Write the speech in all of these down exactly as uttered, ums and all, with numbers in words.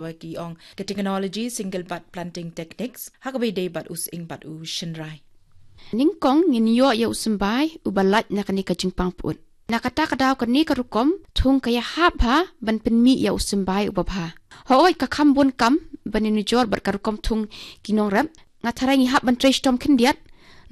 Wa ki ong ka technology single bud planting techniques ha kaba ïadei bad u sying bad u shynrai. Nyngkong ngin ïoh ïa u symbai uba lait na kane ka jingpang pyut. Na kata ka daw kane ka rukom thung ka ïahap bha ban pynmih ïa u symbai uba bha. Hooid ka kham bun kam ban ïanujor bad ka rukom thung ki nongrep. Nga tharai ngi hap ban trei shitom khyndiat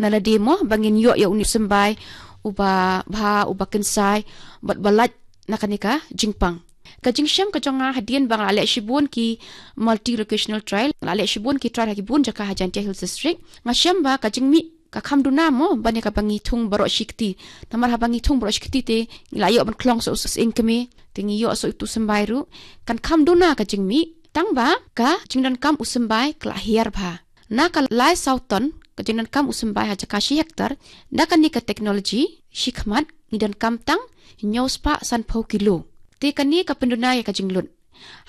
na lade mo ba ngin ïoh ïa une u symbai uba bha, uba kynsai bad ba lait na kane ka jingpang. Ka jingshem ka jong nga hadien ba nga la leh shibun ki multi locational trial, nga la leh shibun ki trial ha ki bun jaka ha Jaintia Hills District, nga shem ba ka jingmih ka kham duna mo ban ïa kaba ngi thung baroh shi kti. Namar haba ngi thung baroh shi kti te ngi la ïoh ban khlong sa u sying kmie, te ngi ïoh sa utu u symbai ruh. Kan kham duna ka jingmih tang ba ka jingdonkam u symbai ka la hiar bha. Na ka lai saw ton ka jingdonkam u symbai ha jaka shi hektar, da kane ka technology shi khmat ngi donkam tang hynñiew spah sanphew kilo. Te kane ka pynduna ïa ka jinglut.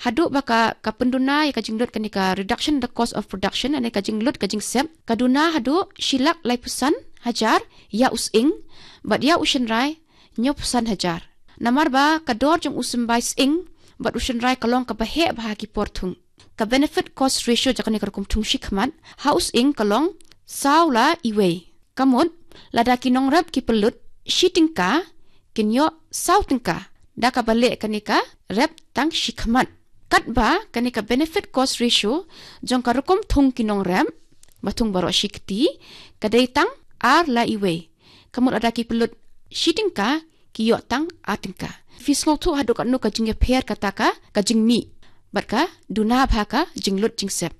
Haduh ba ka, ka pynduna ïa ka jinglut kane ka reduction the cost of production, ane ka jinglut ka jingsep, ka duna haduh shi lak laiphew san hajar ïa u sying bad ïa u shynrai hynñiewphew san hajar. Namar ba ka dor jong u symbai sying bad u shynrai ka long kaba heh bha ha ki por thung. Ka benefit cost ratio jong kane ka rukom thung shi khmat ha u sying ka long saw la iwei. Ka mut lada ki nongrep ki pynlut shi tyngka, kin ïoh saw tyngka da kaba leh kane ka rep tang shi khmat. Katba kane ka benefit cost ratio jong ka rukom thung ki nongrep ba thung baroh shi kti ka dei tang ar la iwei. Ka mut lada ki pynlut shi tyngka, ki ïoh tang ar tyngka. Phi sngewthuh haduh katno ka jingïapher kata ka, ka jingmih bad ka duna bha ka jinglut jingsep.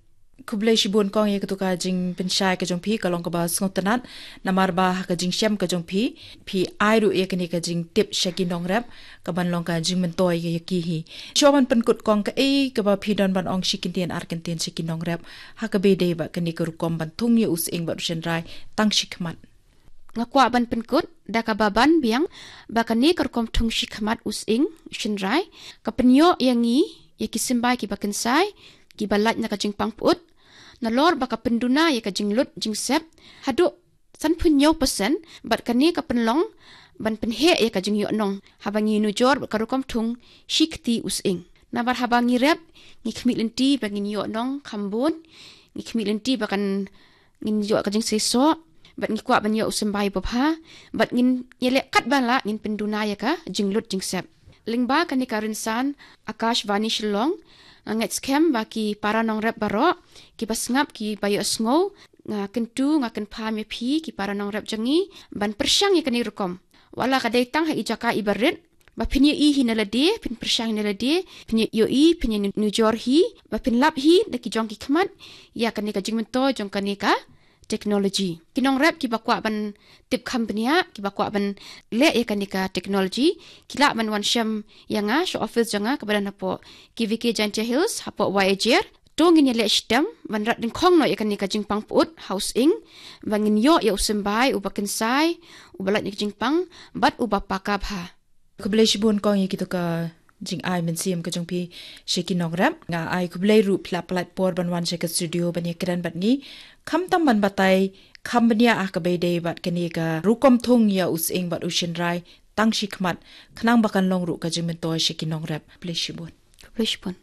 Khublei shibun kong ïa katu ka jingpynshai ka jong phi, ka long kaba sngewtynnat. Namar ba ha ka jingshem ka jong phi, phi ai ruh ïa kane ka jingtip sha ki nongrep kaban long ka jingmyntoi ïa ki hi. Shuwa ban pynkut kong, kaei kaba phi don ban ong shi kyntien ar kyntien sha ki nongrep ha kaba ïadei bad kane ka rukom ban thung ïa u sying bad u shynrai tang shi khmat? Nga kwah ban pynkut da kaba ban biang ba kane ka rukom thung shi khmat u sying u shynrai ka pynïoh ïa ngi ïa ki symbai kiba kynsai, kiba lait na ka jingpang pyut, nalor ba ka pynduna ïa ka jinglut jingsep haduh sanphew hynñiew percent, bad kane ka pynlong ban pynheh ïa ka jingïohnong haba ngi ïanujor bad ka rukom thung shi kti u sying. Namar haba ngi rep ngi khmih lynti ba ngin ïohnong kham bun, ngi khmih lynti ba kan ngin ïoh ka jingseisoh, bad ngi kwah ban ïoh u symbai babha, bad ngin ïaleh katba lah ngin pynduna ïa ka jinglut jingsep. Lyngba kane ka rynsan Akashvani Shillong, nga ngeit skhem ba ki para nongrep baroh kiba sngap, kiba ïohsngew, nga kyntu, nga kynpham ïa phi ki para nongrep jong ngi ban pyrshang ïa kane rukom. Wat la ka dei tang ha i jaka iba rit, ba phin ïohi hi na lade, phin pyrshang hi na lade, phin ïohi, phin ïanujor hi, ba phin lap hi da ki jong ki khmat ïa kane ka jingmyntoi jong kane ka technology. Ki nongrep kiba kwah ban tip kham bniah, kiba kwah ban leh ïa kane ka technology, ki lah ban wan shem ïa nga sha office jong nga kaba don hapoh K V K Jaintia Hills, hapoh Wai Ajer. To ngin ïaleh shitom ban rat dyngkhong noh ïa kane ka jingpang pyut ha u sying, ba ngin ïoh ïa u symbai uba kynsai, uba lait na ka jingpang bad uba paka bha. Khublei shibun kong ïa kito ka jingai mynsiem ka jong phi sha ki nongrep. Nga ai khublei ruh phi la pynlut por ban wan sha ka studio ban ïakren bad ngi, khamtam ban batai kham bniah ha kaba ïadei bad kane ka rukom thung ïa u sying bad u shynrai tang shi khmat, khnang ba kan long ruh ka jingmyntoi sha ki nongrep. Khublei shibun. Khublei shibun.